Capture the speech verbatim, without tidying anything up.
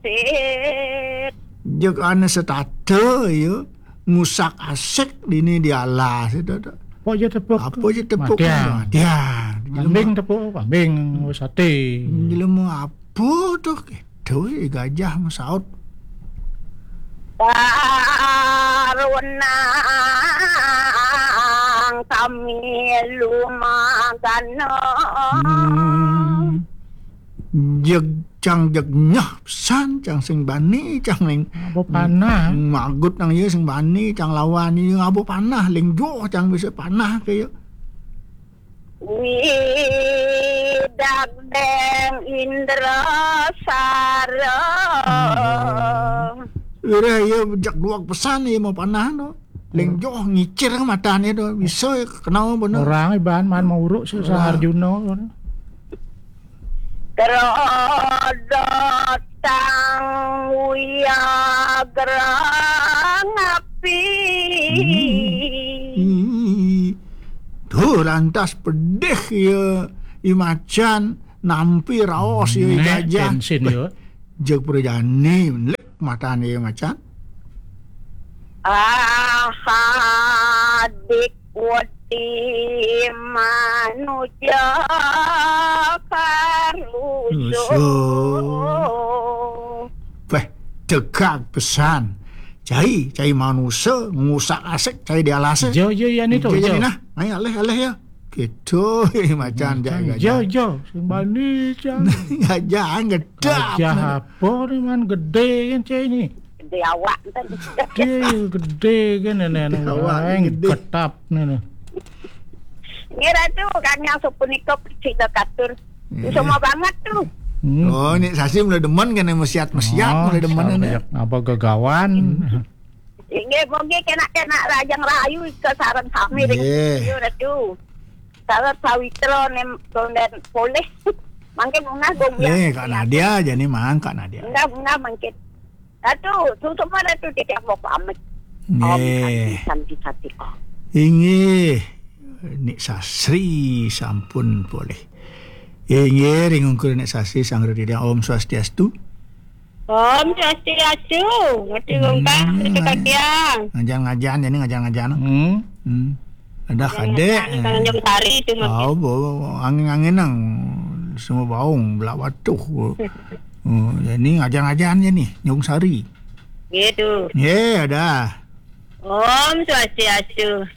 Sit. Jeg ane setata, ya. Ngusak asik dini di alas, itu, tu. Apa je tepuk? Apa je tepuk? Matian. Matian. Kambing tepuk, kambing, sate. Jelema apa tu? Gitu, ya, gajah masaut. Barunang kami lumagana. Hmm. Jeg cang jeg nyeh pesan, cang sing bani, cang ling. Ngaba panah. Magut nang iya sing bani, cang lawan iya ngaba panah, ling joh cang bisa panah ke iya. Widak deng Indra Sara. Hmm. Ira iya jak duak pesan iya mau panah tu. Ling joh ngicir ke mata ni tu. Bisa iya kenal benar. Orang iban man mau uruk si Arjuna. Kerodot tang wiagra ngapi. Hmm. Hmm. Tu lantas pedih iya i macan nampi raos iya i gajah. Bensin iya. Jeg prajani, lik matan iya macan. Ahadik wedi manuja karusuh. Rusuh. Weh, tegak pesan. Cai, cai manusa, ngusak asik, cai di alase. Jo, jo, ya ni tu, jo, jo. Nah, ayo, alih, alih, ya. Gitu, macan, macan, jo, jo. Sing bani, jo. Gajah, gedap. Gajah apa ni, man? Gede kan, cai ni. Gede awak, kan. Gede, gede kan, nenek, nenek. Awak, gede. Ketap, nenek. Ngira tu, kang yang sepunika, sida katur. Iya. Semua banget tu. Hmm. Oh, ni Sasi mula demen kan, mesiat-mesiat, mula demen kan, ya. Apa gegawan? Hmm. Inggih, mungkin kena-kena rajang rayu ke sarang kami dengan studio tu. Sarang sawitra nem konden poleh. Mungkin bunga gombiang. Eh, Kak Nadia aja ni, Mang, Kak Nadia. Enggak, bunga mungkin. Ratu, tutup mana tu dia mau pamit. Om Santi Santi Santi Om. Inggih, Nik Sasri sampun poleh. Inggih, ring ungkur Nik Sasri sang Rudi Om Swastiastu. Om Swastiastu. Ngerti kongkang, hmm, ngerti kakiang. Ngajan-ngajan, jadi ngajan-ngajan. Hmm. Hmm. Ada kadek. Tanjung Sari tu. Oh, bo, angin-angin nang semua baung, belak batuh. Oh, jadi ngajan-ngajan je ni, Nyung Sari. Gitu. Ye, ada. Om Swastiastu.